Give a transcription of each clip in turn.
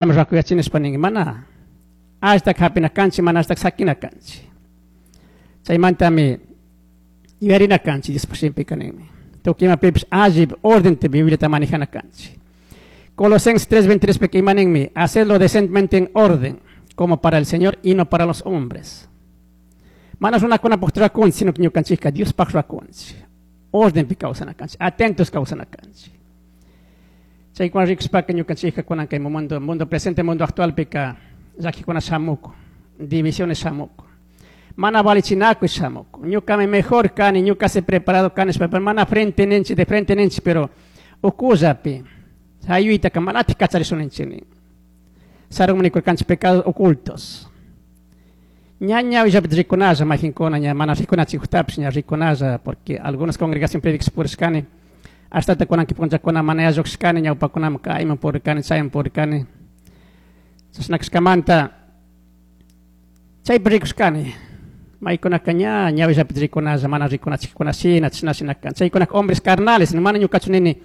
Rakuyachinishpa ninki mana allitaka hapina kanchik, mana allitaka sakina kanchik. Chaymantami yuyarina kanchik Diospaj shimipika ninmi. Tukuy imapipish alli ordenta Bibliata manejana kanchik. Colosenses 3:23 pika ima ninmi? Hacerlo decentemente en orden, como para el Señor y no para los hombres. Mana runakunapaj rurakunchik, sino que ñukanchikka Diospaj rurakunchik. Ordenpi kawsana kanchik, atentos kawsana kanchik. Chaykuna rikushpaka ñukanchikka kunan kay mundo, mundo presente, mundo actualpika llakikuna shamukun, divisiones shamukun. Mana valichinakuy shamukun. Ñukami mejor kani, ñuka se preparado kani, pero mana frente ninchik, de frente ninchik, pero ukullapi hayuytaka manatik kacharishun ninchik nin. Sarunmi nikurkanchik pecados ocultos. Ña ñawillapi rikunalla majinkuna, ña mana rikunachikujtapish ña rikunalla, porque algunas congregaciones predicas purishkani, hasta kunan punllakuna mana yallushkani, ñawpakunaman kayman purirkani, chayman purirkani. Chashna kashkamanta chaypi rikushkani. Maykunaka ña ñawillapi rikunalla, mana rikunachikuna shina, chashna shina kan. Chaykunaka hombres carnales, mana ñukachu nini.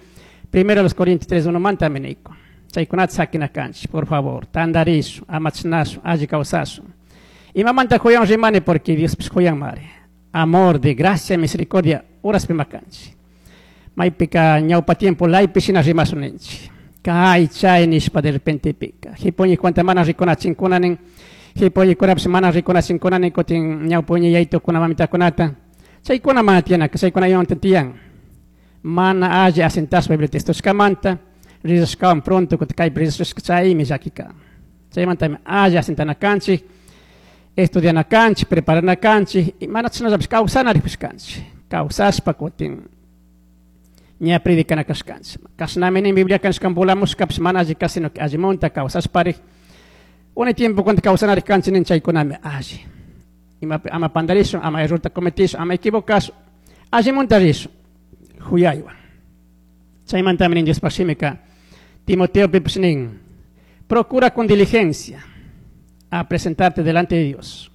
Primero los Corintios 3:1 mantami niyku. Chaykunata sakina kanchik, por favor, tantarishun, ama chashnashun, alli kawsashun. Imamanta huyan rimani porque Diospish huyanmari. Amor de gracia y misericordia uraspima kanchik. Maypika ñawpa tiempo laypi shina rimashun ninchik. Kay chay nishpa de repente pika. Hipuñikunata mana rikunachinkuna nin. Hipuñikunapish mana rikunachinkuna nin, kutin ñawpuñi yaytukuna mamitakunata. Chaykuna mana tiyanaka, chaykuna imamanta tiyan. Mana alli asentashpa Biblia textoshkamanta, rizashkawan pronto kutin kaypi rizashka chaymi llakika. Chaymantami alli asentana kanchik, estudiana kanchik, preparana kanchik, y mana chashnallapish kawsana ripush kanchik. Kawsashpa kutin ña predicana kashkanchik. Kashnami nin Biblia kanshkan volamushkapish mana alli ka, sino que allimunta kawsashparik. Unay tiempo cuando kawsanarik kanchik nin chaykunami alli. Imapi ama pandarishun, ama errorta cometishun, ama equivocashun, allimunta rishun, huyaywan. Chaymantami nin Diospaj shimika, Timoteo pipish nin, procura con diligencia a presentarte delante de Dios,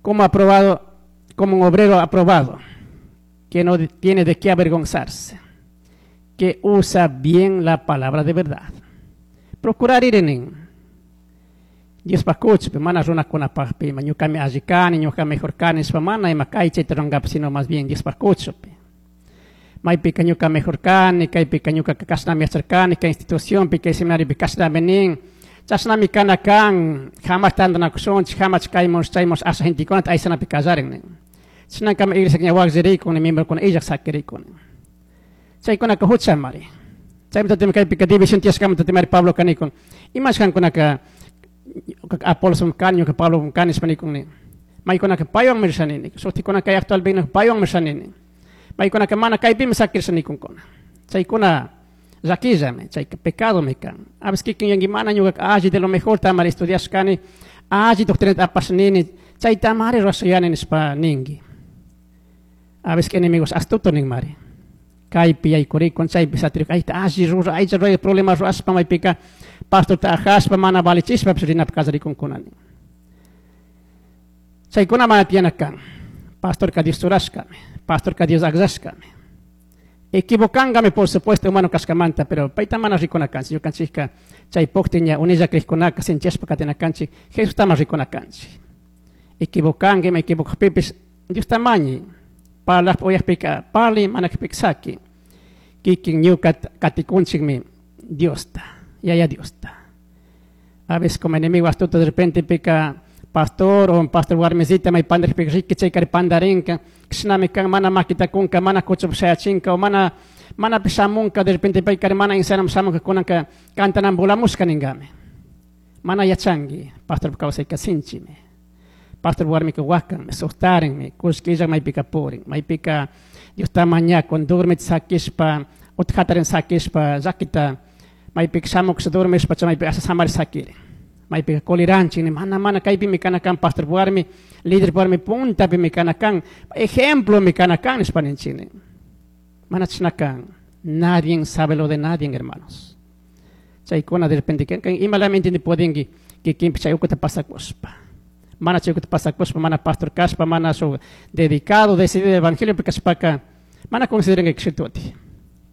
como aprobado, como un obrero aprobado, que no tiene de qué avergonzarse, que usa bien la palabra de verdad. Procurar ir en Diospaj kuchupi, mana runakunapajpi, ima ñukami alli kani, ñuka mejor kani, nishpa mana ima kay chayta rurankapi, sino más bien Diospaj kuchupi. Maypika ñuka mejor kani, kaypika ñuka kashnami yacharkani, kay institucionpi, kay seminariopi kashnami nin, chashnami kana kan, jamás tantanakushunchik, jamás kaymun chaymun asha gentekunata aysanapi kallarin nin. Chashnakama iglesia ña wakllirikun, ni miembrokuna illak sakirikun. Chaykunaka huchamari. Chaymantatimi kaypika división tiyashkamanta timari Pablo kanikun. Imash kankunaka Apolos kani, ñuka Pablo kani nishpa nikun nin. Maykunaka paywanmi rishani nin. Shuktikunaka kay actual vino paywanmi rishani nin. Maykunaka mana kaypimi sakirisha nikunkuna. Chaykuna llakillami, chayka pecadomi kan. A veces kikin yanki mana ñukaka alli de lo mejor tamari estudiashkani, alli doctrinata apash nini, chayta amari rurashayani nishpa ninki. A veces que enemigos astuto nin mari. Kaypi yaykurikun, chaypi satirikun, ayta alli rura, aycha ruray problema rurashpa maypika pastorta ajashpa mana valichishpa rinapi kallarikunkuna nin. Chaykuna mana tiyana kan. Pastorka Dios churashkami, pastorka Dios akllashkami. Equivocankami, por supuesto, humano kashkamanta, pero payta mana rikuna kanchik. Ñukanchikka chay pukti ña unilla krikkunaka sinchishpa katina kanchik, Jesusta mana rikuna kanchik. Equivocanki, ma equivocajpipish, Diosta mañi. Parlajpa uyajpika parli, mana kajpika saki. Kikin ñuka katikunchikmi Diosta, Yaya Diosta. A veces como enemigo astuto de repente pica pastor o pastor warmisita may pandarpika riki chaykari pandarinka, kishnami kan mana makita kunka, mana kuchup shayachinka, o mana, mana pishamunka, de repente paykari mana insanam shamunka kunanka kantanan volamushka ningami. Mana yachangi, pastor kawsayka sinchimi. Pastor warmika wakanmi, sustarinmi, kushkilla maypika purin, maypika Diosta mañakun, durmit sakishpa, utjatarin sakishpa, llakita, maypika shamuksha durmishpa, chay maypika asa samari sakirin. Maypika koliranchik, ni mana, mana kaypimi kana kan pastor warmi, líder warmi puntapimi kana kan, ejemplo mi kana kan nishpa ninchik nin. Mana chashna kan. Nadie sabe lo de nadie, hermanos. Chaykuna de repente, imalami entiende pudenki, kikinpi chay ukuta pasakushpa. Mana chay ukuta pasakushpa, mana pastor kashpa, mana su dedicado, decidido del evangelio, porque kashpaka, mana consideran que kshituti.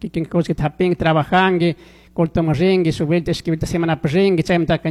Kikin kushki tapin, trabajangi, kultum ringi, su vuelta, escribirte semana ringi, chaymantaka